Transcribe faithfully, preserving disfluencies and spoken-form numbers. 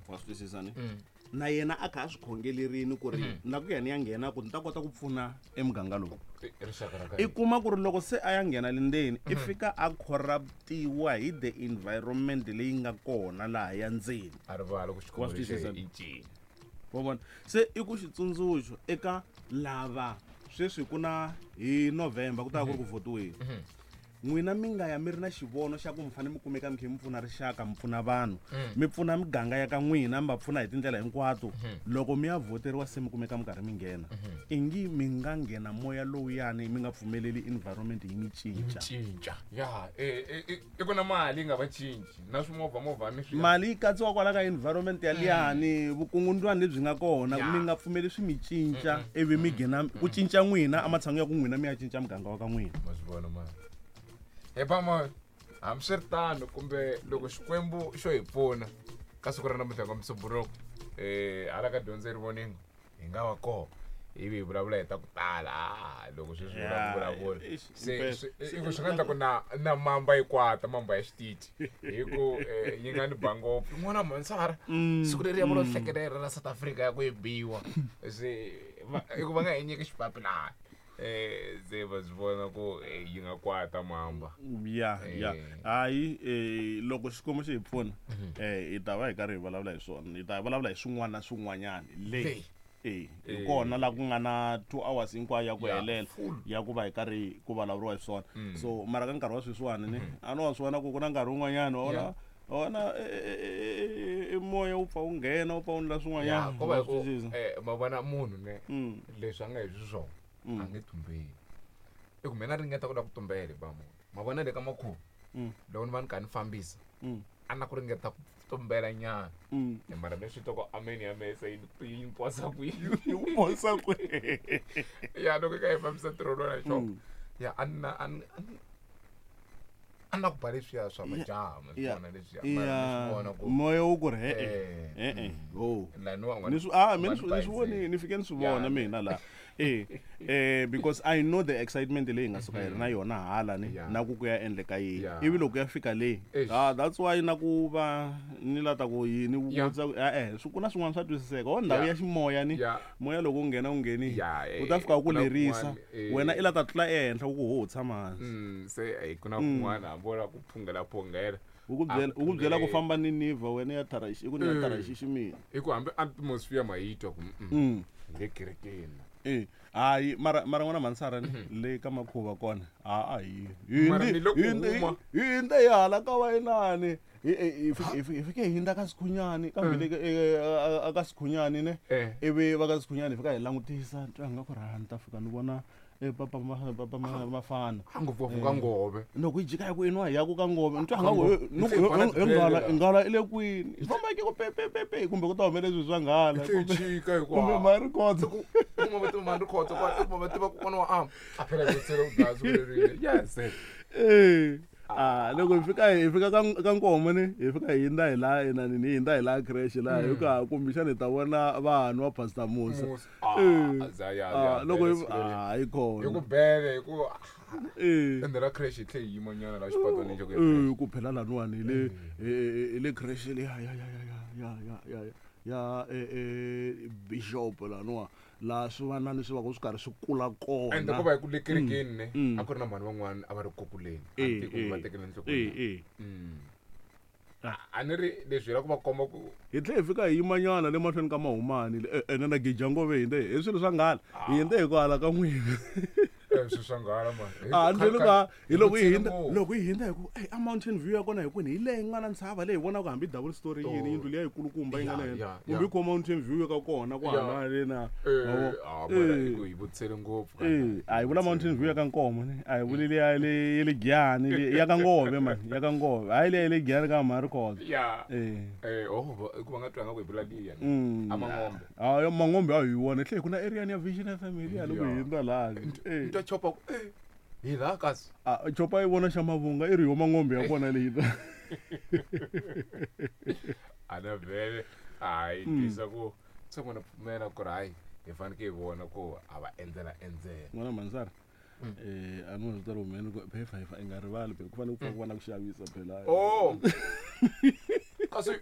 Wa swi twisisa ni? Mm. Na yena a kha a swi khongelerini ku ri na ku ya ni ya nghena ku ni ta kota ku pfuna emuganga lowu. Rixaka ra ka I kuma ku ri loko se a ya nghena le ndzeni, i fika a corruptiwa hi the environment leyi nga kona laha ya ndzeni. A rivala ku Wa xikhongelo swi twisisa? i ncini. Wa vona, se i ku xitsundzuxo eka lava sweswi ku na hi November ku ta va ku ri ku votiweni. N'wina mi nga ya mi ri na xivono xa ku mi fanele mi kumeka mi kha mi pfuna rixaka, mi pfuna vanhu, mi pfuna miganga ya ka n'wina, mi va pfuna hi tindlela hinkwato. Loko mi ya voteriwa se mi kumeka mi karhi mi nghena, ingi mi nga nghena moya lowuyani, mi nga pfumeleli environment yi mi cinca. Cinca ya eh, eh, eh, i ku na mali yi nga va cinci na swimovha movha ni swi Mali yi katsiwa kwala ka environment ya liyani, vukungundwani lebyi nga kona. Ya. Mi nga pfumeli swi mi cinca ivi mi nghena ku cinca n'wina ematshan'wini ya ku n'wina mi ya cinca muganga wa ka n'wina. Ma swi vona mani hi pama. Hambiswiritano, kumbe loko Xikwembu xo hi pfuna ka siku ra namuntlha ka Musumbhunuku, um hala ka dyondzo yi rivoningo hi nga va kona ivi hi vulavula hi ta ku tala. Ah, loko sweswi vula ku vulavula Eish, se impela. swi- i ku swi nga endla ku na na mamba yi kwata, mamba ya xitichi, hi ku eh, yi nga ni ba ngopfu yin'wana mhansara siku leri ya vula hlekelela ra South Africa ya ku yi biwa se va- i ku va nga hi nyiki xipapilana, eh se va swi vona ku eh, yi nga kwata mamba. Ya, ya. Eh. Hayi, eh loko Xikwembu xi hi pfuna, eh hi ta va hi karhi hi vulavula hi swona, hi ta vulavula hi swin'wana na swin'wanyana leyi. Leyi. Eh, hi Eh. kona laha ku nga na two hours hinkwayo ya ku Ya, helela full. ya ku va hi karhi ku vulavuriwa hi swona. So mara ka nkarhi wa sweswiwani ni a no wa swi vona ku ku na nkarhi wun'wanyana wa vona Yeah. wa vona eh, eh, eh, eh, moya wu pfa wu nghena, wu pfa wu ndla Ya swin'wanyana. ko va hi Wa ku swi twisisa? eh ma vona munhu ne Mm. leswi a nga hi xiswona Mm. a nge tumbeli. I ku mina ringeta ku lava ku tumbela hi ba munhu ma vona le ka makhuva Mm. loko ni va ni kha ni fambisa Mm. a na ku ringeta ku tumbela nyana. Mm. Eh, mara mi swi twa ku ameni ya mehe se yi ni- yi ni posa kwihi? Yi ku posa kwihi? Ya, loko i kha hi fambisa ntirho lowu na xona Mm. ya a ni na a ni a ni a ni na ku ba leswiya swa majaha ma swi Ya. vona leswiya, mara ni swi Ya vona ku moya wu ku ri Eh, e-e e-e ho. laniwa Ni swi ah mina ni swi ni swi voni, ni fike ni swi vona Ya. mina la eh eh because I know the excitement leyi nga suka yi ri na yona hala ni Yeah. na ku ku ya endleka yini Yeah. ivi loko ya fika le. Eish. Ah, that's why na ku va ni la ta ku yini Yeah. vutisa ku eh swi ku na swin'wana swa twisiseka ho ndhawu Yeah. ya ximoya ni Yeah. moya loko wu nghena wu nghenile, Yeah, eh, u ta fika u ku ku na lerisa. kun'wana, eh. Wena i la ta tlula ehenhla ku ku ho tshama hansi. Mm, se eh, ku na kun'wana hambi wo lava ku phungela phungela. Wu ku byela A wu ku byela ku phungeli. famba ni niva wena ya tharaxi i ku ni ya Mm. tharaxixi mina. I ku hambi atmosphere ma yi twa ku mm, Mm. hi le kerekeni. Eh, hayi, mara mara n'wana mhansara ni le ka makhuva kona a a hi hi Mara hindzi- ni le ku hi hindzi- huma. hi hindze hi hala ka va inani hi hi- hi fike- hi fike- hi fike hi hindza ka Sikhunyani kambe le ka- eh, a- a- ka Sikhunyani ne. Eh. Ivi va ka Sikhunyani hi fika hi langutisa twa nga ku ri ha ni ta fika ni vona eh, papa ma- papa ma- mafana. A ngopfungopfu ka Ngove. Loko hi jika hi ku inwa hi ya ku ka Ngove ni twa Ka nga ku Ngove. ni ku Hi tlhe hi hi bana nghala tibele la. nghala i le kwini hi famba hi ke ku pepepepe kumbe ku ta humela leswi swa nghala Hi tlhe hi kumbe chika hi ku kumbe ha. Marikotso. Ku kuma va tiva Marikotso kwala, i kuma va tiva kokwana wa ama a phela hi ku ku dlaya siku lerina yes. Eh, ah loko hi fika hi fika ka ka Nkomo ni hi fika hi hindza hi laha inani ni hindza hi laha creche laha hi ku ha kumbexana hi ta vona vanhu va Pastor Musa. Musa. Ah, Eh, za ya ah, ya loko bele hi siku leri. ah yi Hi ku kona. bele hi ku Eh. ende ra creche hi tlhe hi yima nyana la xipatwanini xa ku ya Eh, creche. ku phela laniwani hi le eh, hi le creche le ya ya ya ya ya ya ya ya eh eh bishop laniwa laha swivanani swi va ku swi karhi swi kula Ende kona. ko va hi ku le kerekeni ne Mm. a ku ri na mhani van'wana a va ri kukuleni a Eh, ni tivi kumbe va eh, tekele eh enhlokweni. eh Mm. A a ni ri leswi hi lava ku va komba ku Hi tlhe hi fika hi yimanyana le mahlweni ka Mahumani le ene na Gijangove hindze hi swilo swa nghala hi hindze hi ku hala ka n'wina. eh, swilo swa nghala mani. A ni byeli ka hi loko hi hindza ngopfu. loko hi hindza hi ku eh a Mountain View ya kona hi kwini hi leyi nga na ntshava leyi hi vonaka hambi double story yini Oh. yindlu liya yikulukumba yi nga Ya, le henhla ya, kumbe ya. yi ko Mountain View ka kona ku Ya. hala le na. Eh, Wa vo- ah, mara Eh. hi ku hi vutisele ngopfu Eh, a hi vula Mountain View ya ka Nkomo ne a hi vuli liya le ya le Giyani le ya ka Ngove mani ya ka Ngove hayi liya ya le Giyani ka Marikotso. Ya. Eh. Eh, oh, va- i ku va nga twanga ku hi vula liya ne. Mm. A Mangombe. Ah, ya Mangombe a hi wona tlhe ku na area ya Vision F M liya loko hi Ya. hindza laha. Eh. Ni twa chopa ku eh hi laha kasi. Ah, chopa yi vona xa mavunga i ri yo Mangombe ya kona leyi. A na vhele hayi twisa ku se n'wana pfumela ku ri hayi hi faneke hi vona ku a va endzela endzela. N'wana Mansara. Eh, a ni swi tiva humeni ku phefa hi fa i nga rivali phela ku fanele ku pfa ku va na ku xavisa phela. Oh. Kasi